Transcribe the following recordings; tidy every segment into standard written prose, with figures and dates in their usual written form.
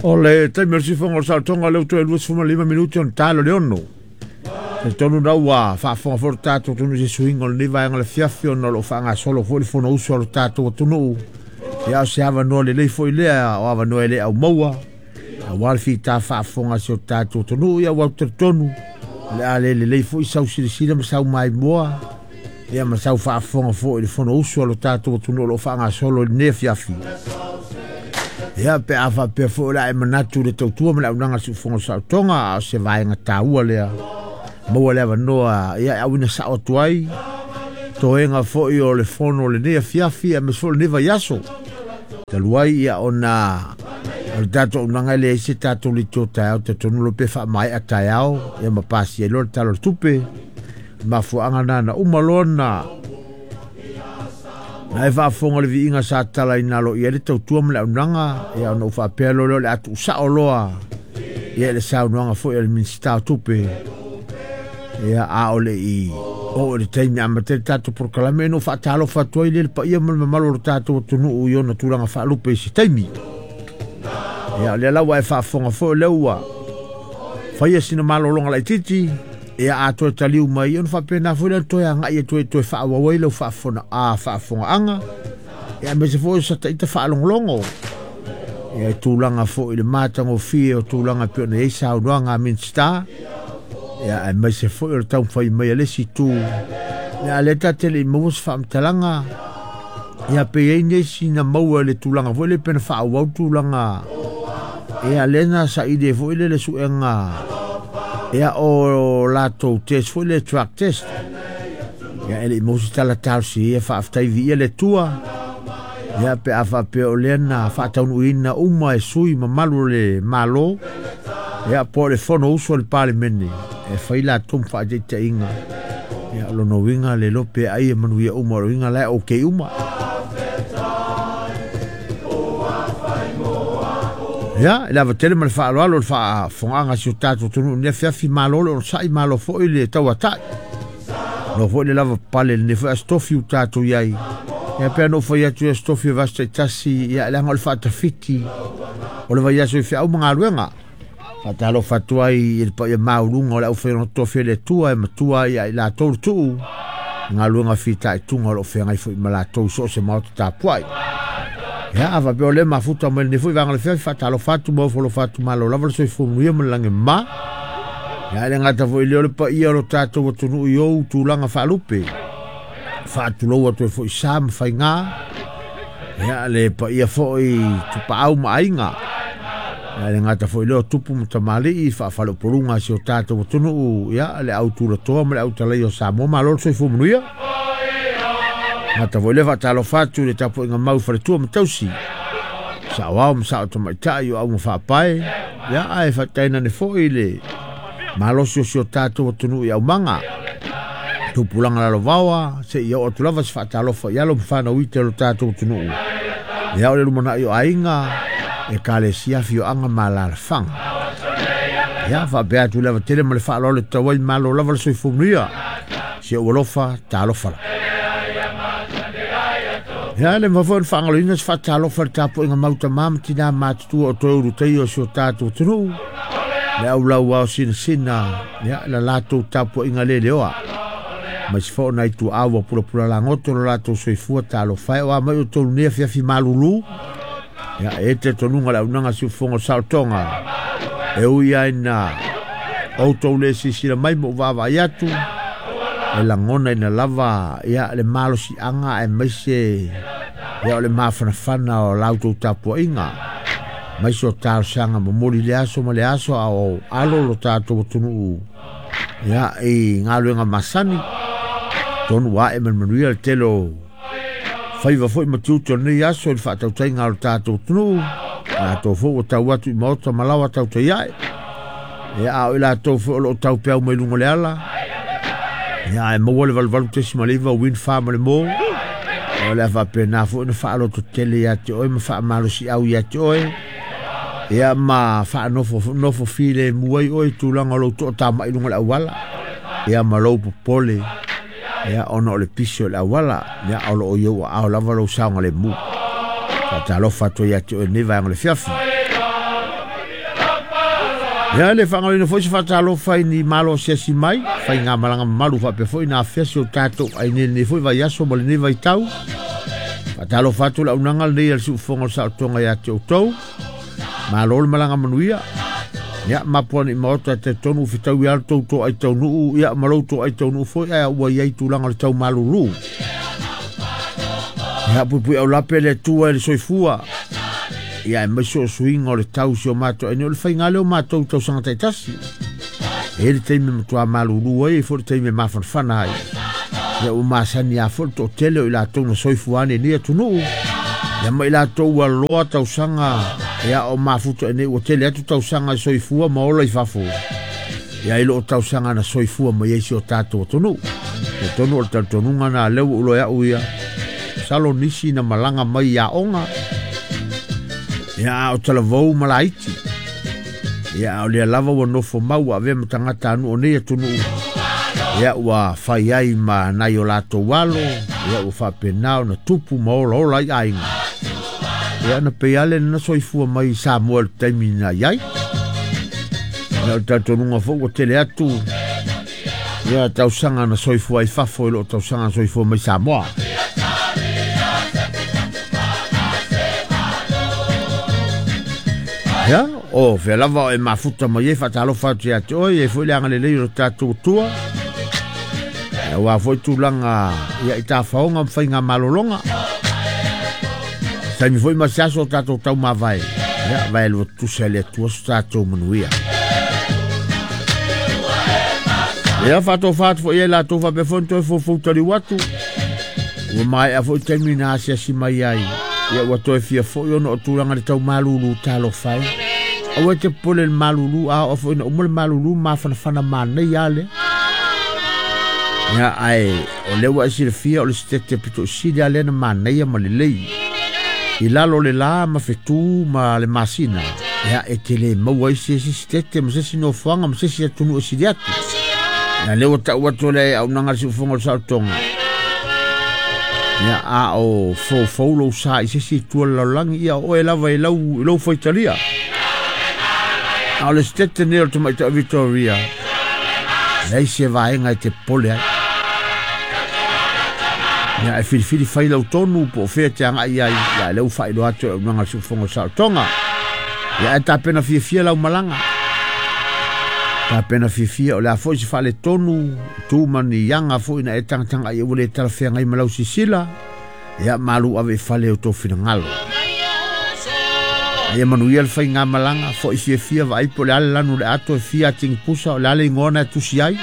O le taimi o le siufofoga o le saolotoga lea ua toe 25 minute ona talo le 6. Talitonu na ua faafofoga foi le tatou atunuu i se suiga o lenei vaega o le afiafi ona o lo o faagasolo foi le Fonousu a lo tatou atunuu. Ia o se avanoa lelei foi lea o avanoa e le aumaua aua le fita faafofoga a si o tatou atunuu. Ia ua talitonu o le a le lelei foi sau silasila ma sau maimoa ia ma sau faafofoga foi i le Fonousu a lo tatou atunuu o lo o faagasolo i lenei afiafi. Ia pe a faapea foi o le a e manatu le tautua ma le auaunaga a le siufofoga o le saolotoga, a o se vaega taua lea maua le avanoa ia e auina sao atu ai toega foi o le fono o lenei afiafi aemaise foi o lenei vaiaso. Talu ai ia ona o le tatou auaunaga e leai se tatou leitio taeao, talitonu loa pe faamaea taeao ia ma pasia ai loa le Tala o le Tupe. Mafuaaga na na uma loa na e faafofoga le viiga sa tatalaina alo i ai le tautua ma le auaunaga, ia ona ou faapea loa lea o le a tuusao loa ia le saunoaga foi a le Minisita o Tupe. Ia a o le i oo i le taimi amata ai le tatou polokalame, ina ua faatalofa atu ai le paia ma le mamalu o le tatou atunuu i ona tulaga faalupe i se taimi. Ia o lea la ua e faafofoga foi o lea ua faia sina malologa laitiiti. Ia a toe taliu mai ona faapena foi lea toe agai atu ai toe faaauau ai lau faafofogaaga, ia aemaise foi o sa taita faalogologo ia i tulaga foi i le matagofie o tulaga e pei ona i ai saunoaga a Minisita, ia aemaise foi o le taumafai mai a le isi itu. Ia a lea ta te le i maua se faamatalaga, ia pe i ai nisi na maua i le tulaga foi lea pe na faaauau tulaga ia lea na saili ai foi lea le suega ia o latou test foi lea drug test. Ia e le i maua se tala talosia, ia faafetai viia le Atua. Ia pe a faapea o lea na faataunuuina uma e sui mamalu o le Malo, ia po o le Fonousu a le Palemene e fai latou ma faataitaiga. Ia o lona uiga le iloa pe ai e manuia uma, o lona uiga la e okay uma. Ia, i le ava tele ma le faaaloalo le faafofogaaga a si o tatou atunuu i lenei afiafi, malo le onosai, malo foi le tauatai. Malo foi le lava papale i lenei foi Aso Tofi ua tatou i ai. Ia pei ona ou fai atu i Aso Tofi o vaiaso taitasi, ia leaga o le faatafiti o le vaiaso i feau ma galuega. Faatalofa atu ai i le paia maualuga o le aufaigaluega totofi a le Atua e matua ai ia i latou le tuu i galuega fitaituga o lo o feagai foi ma latou i so o se maota tapuai. Ia, a faapea o lea mafuta mai lenei foi vaega o le afiafi, faatalofa atu ma ofo alofa atu, malo lava le soifua manuia ma le lagi e mama. Ia, e le gata foi i lea o le paia o lo tatou atunuu i ou tulaga faalupe. Faatulou atu ai foi sa ma faiga. Ia, le paia foi Tupaau ma Aiga. Ia, e le gata foi i lea o tupu ma tamalii, faafaleupoluga a si o tatou atunuu, ia, le au tulatoa ma le au talaia o Samoa, malo le soifua manuia. Gata foi lea faatalofa atu i le tapuaiga mau i faletua ma tausi, saoao ma sao tamaitai o auga faapae, ia, ae faatainane foi le malosi o si o tatou atunuu i aumaga. Tupulaga lalovaoa, seia oo atu lava se faatalofa i alo ma fanau ite o lo tatou atunuu. Ia o le lumanai o aiga, ekalesia, afioaga ma alaalafaga. Ia faapea atu le ava tele ma le faaaloalo e tatau ai, malo lava le soifua manuia. Si ou alofa, talofa la. Ia le mafai foi ona faagaloina se faatalofa i le tapuaiga mau tama ma tina matutua o toe ulutaia o si o tatou atunuu, le au lauao sinasina, ia la latou tapuaiga leleoa. Aemaise foi o nai tuaa ua pulapula lagoto lo latou soifua, talofa e o a mai outou i lenei afiafi malulu. Ia e te tonuga le auaunaga siufofoga o saolotoga. E ui ai na outou le silasila mai ma ou vaavaai atu, e lagonaina lava ia le malosiaga aemaise ia o le mafanafana o la outou tapuaiga, aemaise o talosaga momoli i le aso ma le aso a o alo lo tatou atunuu ia i galuega masani. Tonu ua ae ma le manuia le tele o faiva foi ma tiute o lenei aso i le faatautaiga o le tatou atunuu. Latou foi ua tau atu i maota ma laoa tautai ae. Ia, a o i latou foi o lo o taupeau mai luga o le ala, ia, ae maua le 88.9 Wind Farm le mo. Ia, o le a faapena foi ona faalototele ia te oe ma faamalosiau ia te oe. Ia, ma faanofo nofo filemu ai oe i tulaga o lou toatamai i luga o le auala. Ia, ma lou popole. Ia, ona o le pisi o le auala, ia, o lo o i ou aao lava lou saogalemu. Faatalofa atu ai ia te oe i lenei vaega o le afiafi. Ia le faagaloina foi se faatalofa i ni malo asiasi mai, faigamalaga mamalu faapea foi na afea si o tatou aiga i lenei foi vaiaso ma lenei vaitau. Faatalofa atu le auaunaga lenei a le Siufofoga o le Saolotoga ia te outou. Malo le malaga manuia. Ia mapu ane i maota e talitonu ua fetaui lava le tou toai taunuu, ia ma lou toai taunuu foi, ae ua i ai tulaga o le tau malulu. Ia puipui aulape le Atua i le soifua. Ia aemaise o suiga o le tau si o matou aiga, o le faiga lea o matou i tausaga taitasi. E i ai le taimi e matua malulu ai, e i ai foi le taimi e mafanafana ai. Ia ua masani lava foi le toatele o i latou na soifua ane i lenei atunuu. Ia ma i latou ua loa tausaga, ia o mafuta i nei ua tele atu tausaga e soifua ma ola i fafo. Ia i loo tausaga na soifua mai ai si o tatou atunuu. Talitonu o le talitonuga na lea ua ulo au ia. Masalo nisi na malaga mai i aoga. Ia a o talavou ma laiti. Ia a o lea lava ua nofo mau ua avea ma tagata anu o nei atunuu. Ia ua fai ai ma nai o latou alo. Ia ua faapena ona tupu ma olaola ai aiga. Ia na pei lava lea na soifua mai i Samoa i le taimi na i ai. Ia o le talitonuga foi ua tele atu ia tausaga na soifua ai fafo i loo tausaga na soifua mai Samoa. Ia, o fea lava o e mafuta mai ai faatalofa atu ia te oe, e foi le agalelei o le tatou Atua. Ia, aua foi tulaga ia i tafaoga ma faiga malologa. Taimi foi ma se aso o tatou taumavae. Ia, vae lua tutusa e le Atua so tatou manuia. Ia, faatofa atu foi e latou faapea foi ona toe foufou taliu atu. Ua maea foi taimi na asiasi mai ai. Ia, ua toe fia foi ona o tulaga i le tau malulu talofa e. Aua e te popole i le malulu, a oo foi ina uma le malulu, mafanafana manaia lava lea. Ia, ae o lea ua e silafia o le sitete pito i sili lava lea na manaia ma lelei. I lalo o le la ma fetu ma le masina, ia, e te le maua ai se isi sitete ma se isi nofoaga ma se isi atunuu e sili atu. Ia, lea ua tau atu le auaunaga a le Siufofoga o le Saolotoga. Ia, a o foufou lou sa i se isi itu o le lalolagi, ia o oe lava i lau, i lou faitalia. A o le sitete nei o le tamaitai Victoria, leai se vaega e te popole ai. Ia, e filifili fai lau tonu po o fea e te agai ai, ia, lea ua faailoa atu e le auaunaga a le Siufofoga o le Saolotoga. Ia, ae tapena fiafia lau malaga. Tapena fiafia, o le a foi se faaletonu, tu ma ni aga foi na e tagataga ai ua le talafeagai ma lau sisila, ia malu ave i fale o tō finagalo. Ia manuia le faigamalaga, foi fiafia vaai po o le a le lanu o le ato e fia atigi pusa, o le a le igoa na e tusi ai.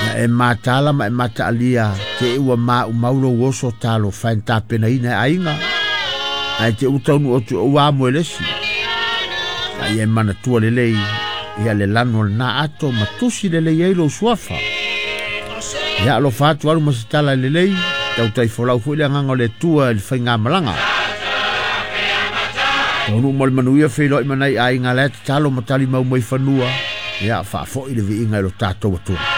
Ia e matala ma e mataalia te i ua maumau lou oso talofa e na tapenaina e aiga. Ae te ua taunuu atu e ua amo e le isi. A ia e manatua lelei ia le lanu o lena ato ma tusi lelei ai lou suafa. Ia alofa atu alu ma se tala lelei, tautai folau foi le agaga o le Atua i le faigamalaga. Taunuu mo le manuia feiloai ma nai aiga la e tatalo ma talimau mai fanua, ia faafoi le viiga i lo tatou Atua.